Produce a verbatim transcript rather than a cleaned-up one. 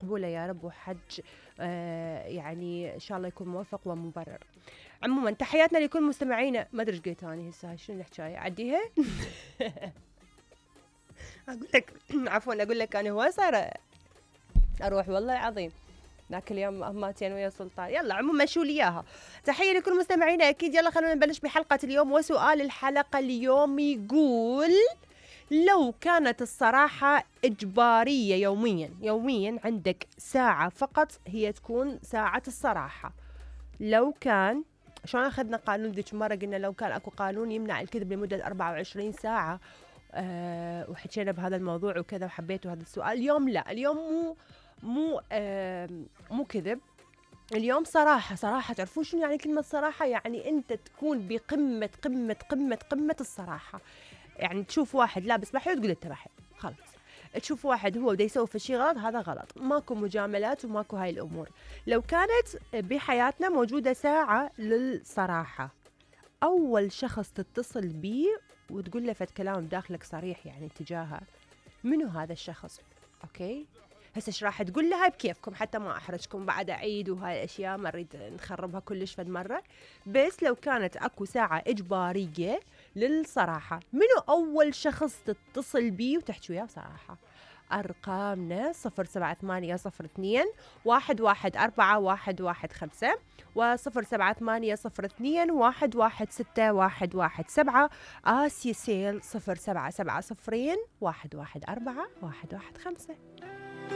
مقبولة يا رب، وحج آه يعني إن شاء الله يكون موفق ومبرر. عموما تحياتنا لكل مستمعينا. ما أدري إيش قلت أنا هسه، شنو الحكاية عديها. أقول لك عفوا أقول لك أنا هو صار أروح والله العظيم ذاك اليوم أهماتين ويا سلطان. يلا عموما شو لي إياها. تحية لكل مستمعينا أكيد. يلا خلونا نبلش بحلقة اليوم، وسؤال الحلقة اليوم يقول: لو كانت الصراحة إجبارية يوميا يوميا عندك ساعة فقط هي تكون ساعة الصراحة، لو كان شلون أخذنا قانون ذيك مرة قلنا لو كان أكو قانون يمنع الكذب لمدة أربعة وعشرين ساعة أه وحكينا بهذا الموضوع وكذا وحبيتوا هذا السؤال. اليوم لا، اليوم مو مو أه مو كذب، اليوم صراحة. صراحة تعرفون شنو يعني كلمة صراحة؟ يعني أنت تكون بقمة قمة قمة قمة الصراحة. يعني تشوف واحد لابس بحي وتقول انت بحي، خلاص. تشوف واحد هو بده يسوي في شيء غلط، هذا غلط. ماكو مجاملات وماكو هاي الأمور. لو كانت بحياتنا موجودة ساعة للصراحة، أول شخص تتصل بيه وتقول له فد كلام داخلك صريح يعني تجاهه، منو هذا الشخص؟ أوكي هسه ايش راح تقول لها بكيفكم، حتى ما احرجكم بعد اعيد وهاي الاشياء ما اريد نخربها كلش فد مره. بس لو كانت اكو ساعه اجباريه للصراحه، منو اول شخص تتصل بيه وتحكي وياه بصراحه؟ ارقامنا صفر سبعة ثمانية صفر اثنين واحد واحد أربعة واحد واحد خمسة وصفر سبعة ثمانية صفر اثنين واحد واحد ستة واحد واحد سبعة. آسيا سيل صفر سبعة سبعة صفرين واحد واحد أربعة واحد واحد خمسة.